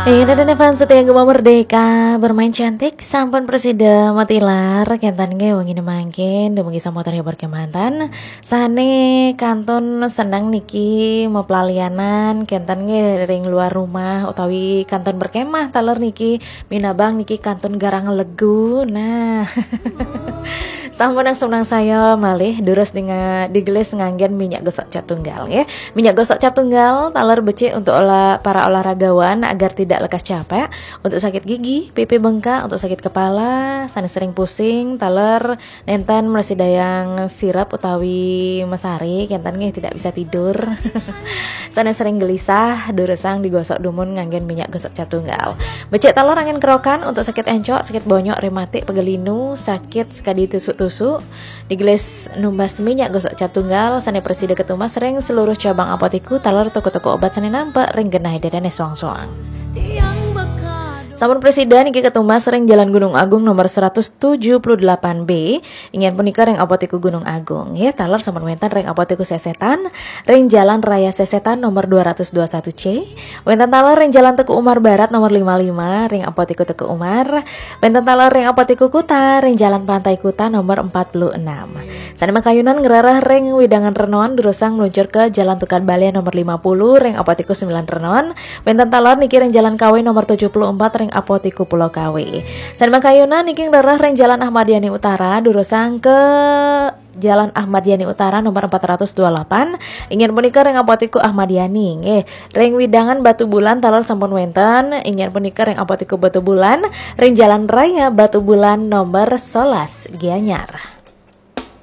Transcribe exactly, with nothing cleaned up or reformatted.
Inggih, dadan fans setia Gema Merdeka, bermain cantik, sampun presida matilar, kenten nggih wengi mangkin, dumugi sambutan hibur kemanten. Sane kantun seneng niki meplalianan, kenten nggih ring luar rumah utawi kantun berkemah taler niki, minabang niki kantun garang legu. Nah. Sampun nang saya malih durus dinga digelis nganggen minyak gosok cap tunggal nggih. Minyak gosok cap tunggal taler becik untuk olah, para olahragawan agar tidak lekas capek, untuk sakit gigi, pipi bengkak, untuk sakit kepala, sane sering pusing, taler nenten mresidayang sirep utawi mesari, kenten nggih tidak bisa tidur. Sane sering gelisah, durusang digosok dumun nganggen minyak gosok cap tunggal. Becik taler angin kerokan untuk sakit encok, sakit bonyok, rematik, pegel linu, sakit sekadi tusuk-tusuk. Digelis numbas minyak gosok cap tunggal sane presida ketumbas ring seluruh cabang apotiku taler toko-toko obat sane nampek ring genah dedene soang-soang. Sampun presida niki ketumbas ring Jalan Gunung Agung nomor seratus tujuh puluh delapan B, inggih punika ring Apotiku Gunung Agung. Nggih, taler sampun wenten ring Apotiku Sesetan, ring Jalan Raya Sesetan nomor dua ratus dua satu C, wenten taler ring Jalan Teuku Umar Barat nomor lima lima, ring Apotiku Teuku Umar, wenten taler ring Apotiku Kuta, ring Jalan Pantai Kuta nomor empat puluh enam. Sane makayunan ngrereh ring Widangan Renon, durusang meluncur ke Jalan Tukad Bale nomor lima puluh, ring Apotiku sembilan Renon, wenten taler niki ring Jalan Kawe nomor tujuh puluh empat, ring Apotiku Pulau Kawe. Sane makayunan niki ngrereh ring Jalan Ahmad Yani Utara, durusang ke Jalan Ahmad Yani Utara nomor empat ratus dua delapan, inggih punika ring Apotiku Ahmad Yani, nggih. Ring Widangan Batu Bulan taler sampun wenten, inggih punika ring Apotiku Batu Bulan, ring Jalan Raya Batu Bulan nomor sebelas, Gianyar.